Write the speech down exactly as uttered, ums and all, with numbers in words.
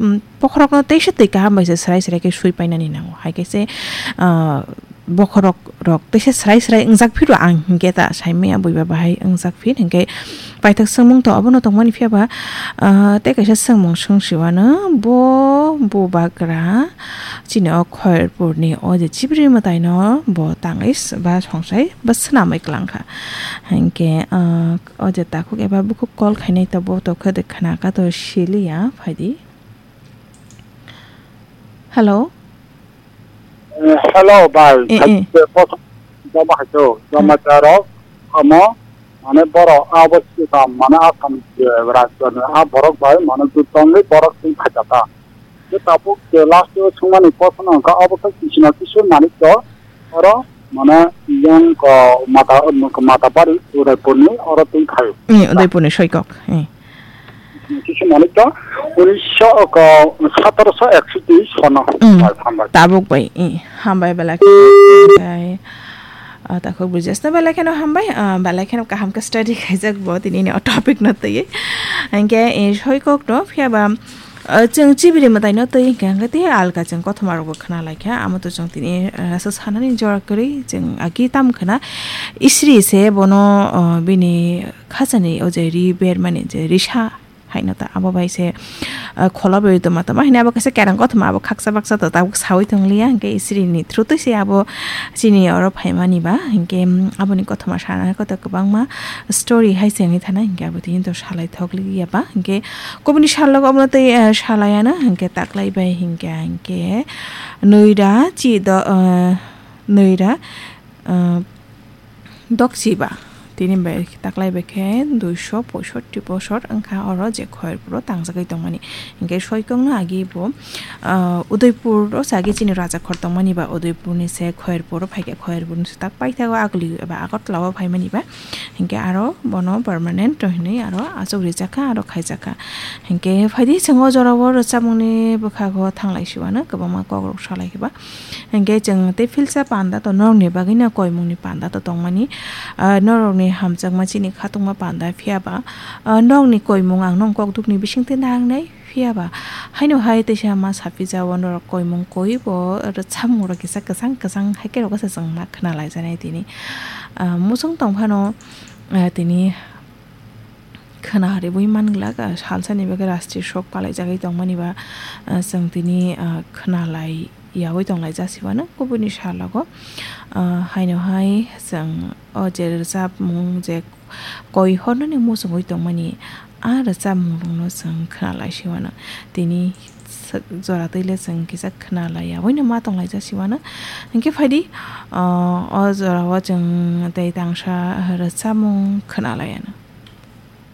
mm, bokhorokno teisa twi kaham bai se srai srai khe sui painani nango. Hai khe se, ah, bokhorok rok teisa srai srai wngjak phiro ang hinkhe ta saimaya buiba bahai wngjak phir hinkhe paithak swngmung to obono tongmani phiya ba, ah, tei kaisa swngmung swng siwano bo bubagra chini o Khairpurni o je chibri mwtaino bo tangwi s-, ba songsai ba swnamwi kwlangkha. Hinkhe, ah, o je takhuk eba bukhuk call khainai to bo tokhe de khna ka to siliya phaidi. Hello? Eh, hello, bai. Eh, eh. Hai, eh, kosa jama hai to, jama Hmm. charok, amo, mane borok abo sika, mane Assam je rajyo ni a borok bai, mane tu tongwi borok twi phaijak ta. Je tabuk je last o sungmani kosa no ka abo khe kisima kisu manik to, oro, mane yang ko mata, mata bari Udaipur ni oro twi phaio. Eh, Udaipur ni soikok. Eh. Kisa manik to, unisho ko, sotoroso ekso teis sono. Mm. Bai, hambai. Tabuk bai, eh, hambai belai khe, ah, takhuk bujas no belai kheno hambai, ah, belai kheno kaham khe study khaijak bo tini ni o topic no twi. Hingke, eh, soikok no phiya ba, ah, chwng chibiri mwtai no twi hingke hingke tei alka chwng kothoma rok bo khna lai kha, amo to chwng tini, ah, asa sanani jora kwrwi chwng agi tam khna isri se bono, ah, bini khachani o je ri bermani je risa haino ta abo bai se, ah, khola bai tongma tongma hino abo kaisa kerang kothoma abo khaksa baksa to tabuk sawi tong liya hingke isiri ni through twi se abo chini oro phaimani ba hingke, mm, aboni kothoma sana koto kwbangma story hai se wngwi thana hingke abo tini to salai thok liya ba hingke kubuni sal logo abono tei, ah, salai ano hingke taklai bai hingke hingke noida chi do, ah, noida, ah, Dokchiba tini bai taklai bai khe duiso poisotti bosor wngkha oro je Khairpuro tangjagwi tongmani. Hinkhe soikokno agi bo, ah, Udaipuro se agi chini rajakhor tongmani ba Udaipurni se Khairpuro phaikhe Khairpurni se tak paithago Aguli eba Agartala o phaimani ba. Hinkhe aro bono permanent hinwi aro achuk rijak kha aro khaijak kha. Hinkhe phaidi chwng o jorao rwchapmungni bwkhago thanglai siwano kwbangma kokrok salai khe ba. Hinkhe chwng tei philsa panda to norokni bagwino koimungni panda to tongmani, ah, norokni hamjakma chini khatungma panda phiya ba, ah, nokni koimung ang nong kokdukni bisingtwi nangnai phiya ba. Haino hai teisa ma saphi jao norok koimung koi bo rwchapmung rok kisa kwchang kwchang hai khe rok se chwng ma khna lai janai tini. Ah, muchung tong phano, ah, tini khna ribui man glak, ah, salsani bagwi rastri sok palaijagwi tongmani ba, ah, chwng tini, ah, khna lai yaui tong lai jasiwano kubuni salogo, ah, haino hai chwng o je rwchapmung je koi hornani muchungwi tongmani a rwchapmung rokno chwng khna lai siwano tini jora twi le chwng kisa khna lai yaui no ma tong lai jasiwano hinkhe phaidi, ah, o jora o chwng tei tangsa rwchapmung khna lai ano.